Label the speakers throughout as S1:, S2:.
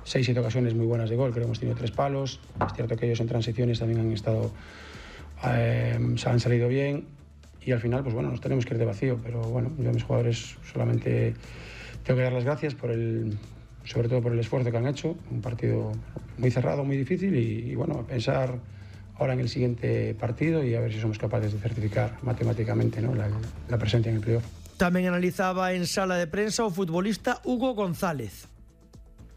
S1: 6-7 ocasiones muy buenas de gol, creo que hemos tenido 3 palos. Es cierto que ellos en transiciones también han estado, se han salido bien, y al final, pues bueno, nos tenemos que ir de vacío, pero bueno, yo a mis jugadores solamente tengo que dar las gracias sobre todo por el esfuerzo que han hecho. Un partido muy cerrado, muy difícil, y bueno, a pensar ahora en el siguiente partido y a ver si somos capaces de certificar matemáticamente, ¿no?, la presencia en el playoff.
S2: Tamén analizaba en sala de prensa o futbolista Hugo González.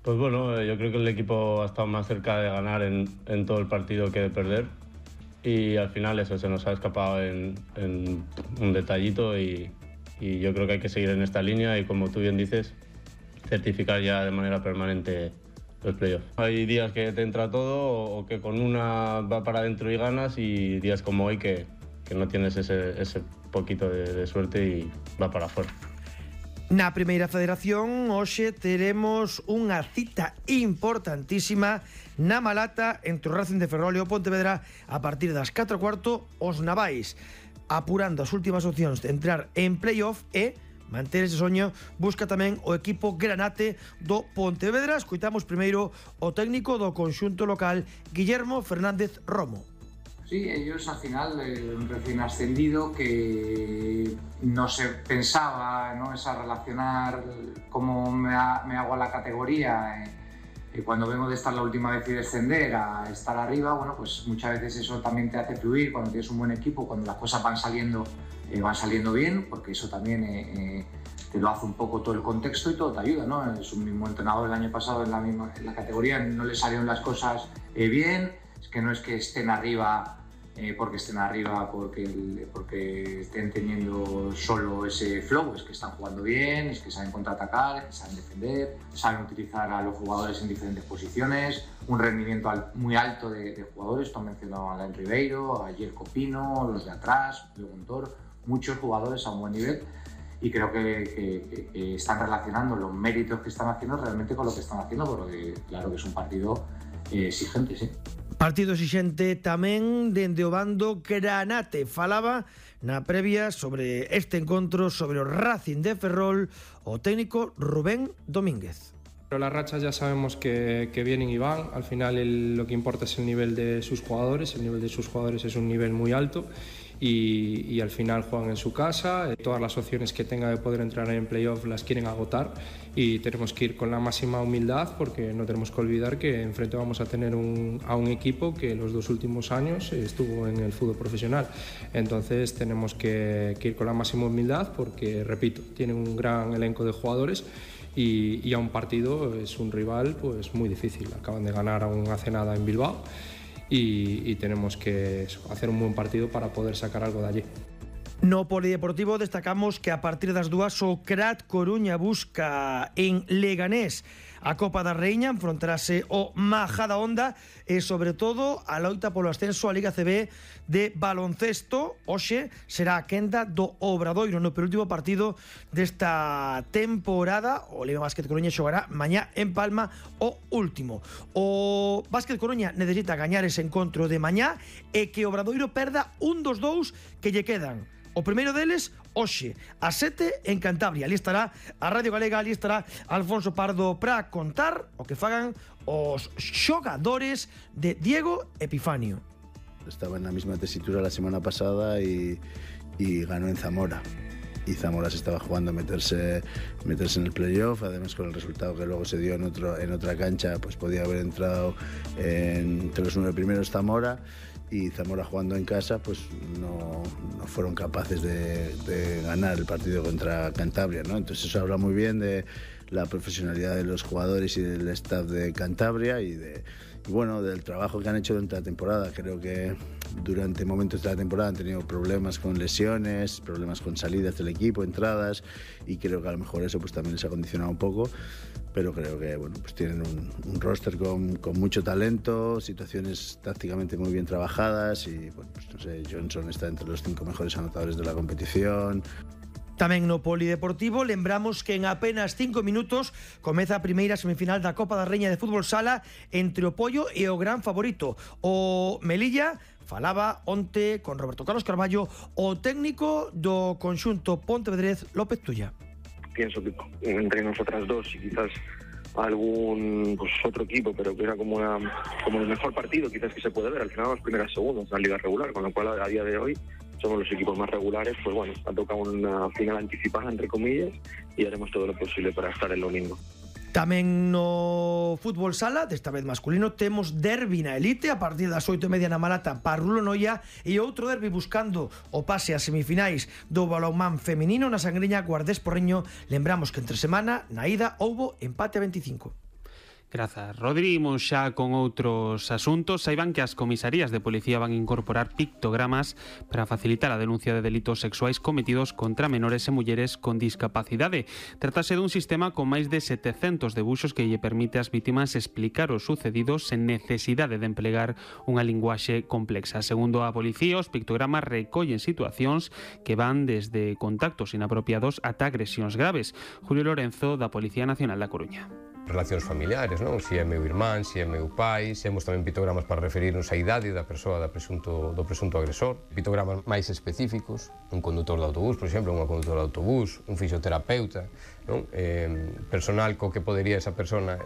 S3: Pues bueno, yo creo que el equipo ha estado más cerca de ganar en todo el partido que de perder, y al final eso se nos ha escapado en un detallito, y yo creo que hay que seguir en esta línea y, como tú bien dices, certificar ya de manera permanente los playoffs. Hay días que te entra todo, o que con una va para adentro y ganas, y días como hoy que no tienes ese poquito de suerte y va para afuera.
S2: Na Primeira Federación hoxe teremos unha cita importantísima na Malata entre o Racing de Ferrol e o Pontevedra a partir das 4:15. Os navais apurando as últimas opcións de entrar en playoff e manter ese soño busca tamén o equipo granate do Pontevedra. Escoitamos primeiro o técnico do conxunto local, Guillermo Fernández Romo.
S4: Sí, ellos al final, un recién ascendido que no se pensaba, ¿no?, esa relacionar cómo me hago a la categoría. Cuando vengo de estar la última vez y descender a estar arriba, bueno, pues muchas veces eso también te hace fluir cuando tienes un buen equipo, cuando las cosas van saliendo bien, porque eso también te lo hace un poco todo el contexto y todo te ayuda, ¿no? Es un mismo entrenador el año pasado en la categoría, no le salieron las cosas bien, es que no es que estén arriba porque estén teniendo solo ese flow, es que están jugando bien, es que saben contraatacar, es que saben defender, saben utilizar a los jugadores en diferentes posiciones, un rendimiento muy alto de jugadores. Tú has mencionado a Alain Ribeiro, a Jerko Pino, los de atrás, Pío Gontor, muchos jugadores a un buen nivel, y creo que están relacionando los méritos que están haciendo realmente con lo que están haciendo, porque claro que es un partido exigente, sí.
S2: Partido exixente tamén dende o bando granate. Falaba na previa sobre este encontro, sobre o Racing de Ferrol, o técnico Rubén Domínguez.
S5: Pero las rachas ya sabemos que vienen y van. Al final lo que importa es el nivel de sus jugadores. El nivel de sus jugadores es un nivel muy alto, y al final juegan en su casa. Todas las opciones que tenga de poder entrar en playoff las quieren agotar, y tenemos que ir con la máxima humildad, porque no tenemos que olvidar que enfrente vamos a tener a un equipo que los 2 últimos años estuvo en el fútbol profesional. Entonces tenemos que ir con la máxima humildad, porque, repito, tienen un gran elenco de jugadores, y a un partido es un rival pues muy difícil. Acaban de ganar hace nada en Bilbao, y tenemos que hacer un buen partido para poder sacar algo de allí.
S2: No polideportivo destacamos que a partir das 2 o Crat Coruña busca en Leganés a Copa da Raíña, enfrontarase o Majadahonda e sobre todo a loita polo ascenso á Liga CB de baloncesto. Hoxe será a quenda do Obradoiro no penúltimo partido desta temporada. O Leva Básquet Coruña xogará mañá en Palma o último. O Básquet Coruña necesita gañar ese encontro de mañá e que o Obradoiro perda un dos 2 que lle quedan. O primeiro deles, hoxe, a 7 en Cantabria. Ali estará a Radio Galega, ali estará Alfonso Pardo para contar o que fagan os xogadores de Diego Epifanio.
S6: Estaba en la misma tesitura la semana pasada y ganó en Zamora. Y Zamora se estaba jugando a meterse en el playoff, además con el resultado que luego se dio en otra cancha, pues podía haber entrado entre los 9 primeros Zamora. Y Zamora, jugando en casa, pues no fueron capaces de ganar el partido contra Cantabria, ¿no? Entonces eso habla muy bien de la profesionalidad de los jugadores y del staff de Cantabria y bueno, del trabajo que han hecho durante la temporada. Creo que durante momentos de la temporada han tenido problemas con lesiones, problemas con salidas del equipo, entradas, y creo que a lo mejor eso pues también les ha condicionado un poco. Pero creo que bueno, pues tienen un roster con mucho talento, situaciones tácticamente muy bien trabajadas, y bueno, pues no sé, Johnson está entre los 5 mejores anotadores de la competición.
S2: Tamén no polideportivo lembramos que en apenas 5 minutos comeza a primeira semifinal da Copa da Raíña de Fútbol Sala entre o Pollo e o gran favorito, o Melilla. Falaba onte con Roberto Carlos Carballo o técnico do conxunto pontevedrés, López Tulla.
S7: Pienso que entre nosotras dos y quizás algún otro equipo, pero que era como el mejor partido quizás que se puede ver. Al final las primeras segundas en la liga regular, con lo cual a día de hoy somos los equipos más regulares. Pues bueno, ha tocado una final anticipada, entre comillas, y haremos todo lo posible para estar el domingo.
S2: Tamén no fútbol sala, desta vez masculino, temos derbi na elite a partir das 8:30 na Malata, Parrulo Noia, e outro derbi buscando o pase a semifinais do balonmán feminino na Sangriña Guardés Porriño. Lembramos que entre semana na ida houbo empate a 25.
S8: Grazas, Rodri. Imos xa con outros asuntos. Saiban que as comisarías de policía van incorporar pictogramas para facilitar a denuncia de delitos sexuais cometidos contra menores e mulleres con discapacidade. Trátase dun sistema con máis de 700 debuxos que lle permite ás vítimas explicar os sucedidos sen necesidade de emplegar unha linguaxe complexa. Segundo a policía, os pictogramas recollen situacións que van desde contactos inapropiados ata agresións graves. Julio Lorenzo, da Policía Nacional da Coruña.
S9: Relacións familiares, non? Si é meu irmán, si é meu pai, temos tamén pictogramas para referirnos á idade da persoa do presunto agresor, pictogramas máis específicos, un condutor de autobús, por exemplo, unha condutora de autobús, un fisioterapeuta, non? Personal co que podería esa persona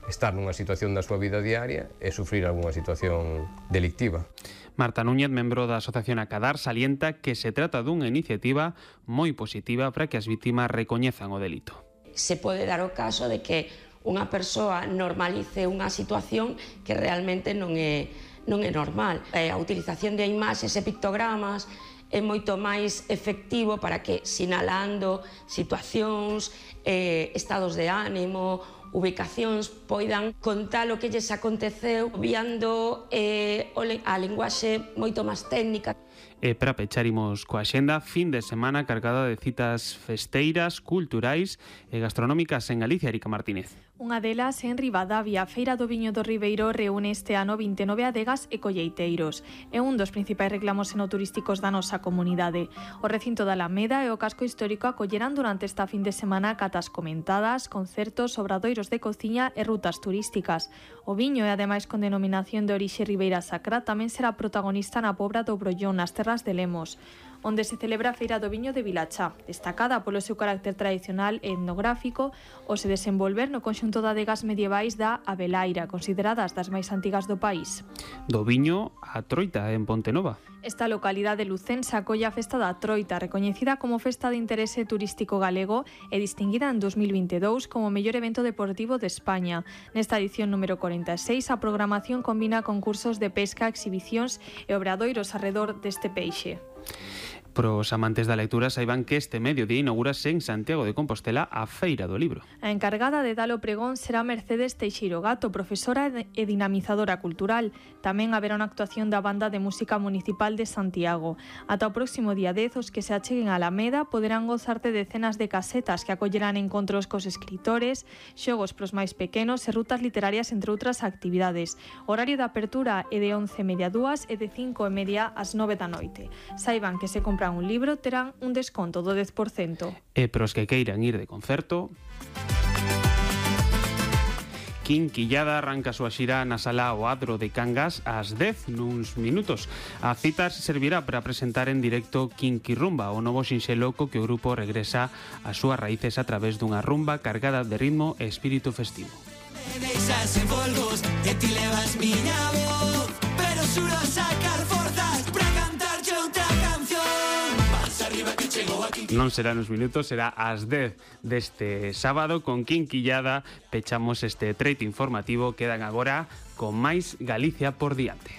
S9: estar nunha situación da súa vida diaria e sufrir algunha situación delictiva.
S8: Marta Núñez, membro da Asociación Acadar, salienta que se trata dunha iniciativa moi positiva para que as vítimas recoñezan o delito.
S10: Se pode dar o caso de que unha persoa normalice unha situación que realmente non é normal. A utilización de imaxes e pictogramas é moito máis efectivo para que, sinalando situacións, estados de ánimo, ubicacións, poidan contar o que lles aconteceu, obviando a linguaxe moito máis técnica.
S8: E para pechar imos coa axenda, fin de semana cargada de citas festeiras, culturais e gastronómicas en Galicia. Erika Martínez.
S11: Unha delas en Ribadavia, a Feira do Viño do Ribeiro reúne este ano 29 adegas e colleiteiros. É un dos principais reclamos enoturísticos da nosa comunidade. O recinto da Alameda e o casco histórico acollerán durante esta fin de semana catas comentadas, concertos, obradoiros de cociña e rutas turísticas. O viño e ademais con denominación de orixe Ribeira Sacra tamén será protagonista na Pobra do Brollón, nas terras de Lemos, onde se celebra a Feira do Viño de Vilachá, destacada polo seu carácter tradicional e etnográfico, o se desenvolver no conxunto de adegas medievais da Abelaira, consideradas das máis antigas do país.
S8: Do viño a Troita, en Pontenova.
S11: Esta localidade lucense acolle a Festa da Troita, recoñecida como Festa de Interese Turístico Galego e distinguida en 2022 como o mellor evento deportivo de España. Nesta edición número 46, a programación combina concursos de pesca, exhibicións e obradoiros arredor deste peixe.
S8: Pros amantes da lectura saiban que este mediodía inaugurase en Santiago de Compostela a Feira do Libro.
S11: A encargada de dar o pregón será Mercedes Teixeiro Gato, profesora e dinamizadora cultural. Tamén haberá unha actuación da Banda de Música Municipal de Santiago. Ata o próximo día 10, os que se acheguen a Alameda poderán gozar de decenas de casetas que acollerán encontros cos escritores, xogos pros máis pequenos e rutas literarias, entre outras actividades. O horario de apertura é de 11:30 a 2 e de 5:30 ás 9 da noite. Saiban que se compran un libro terán un desconto do 10%.
S8: E pros que queiran ir de concerto, Quinquillada arranca a súa xira na sala O Adro de Cangas ás 10 nuns minutos. A cita servirá para presentar en directo Quinquirrumba, o novo xinxelo co que o grupo regresa ás súas raíces a través dunha rumba cargada de ritmo e espírito festivo. Non será nos minutos, será ás 10 deste sábado. Con Quinquillada pechamos este treito informativo. Quedan agora con máis Galicia por diante.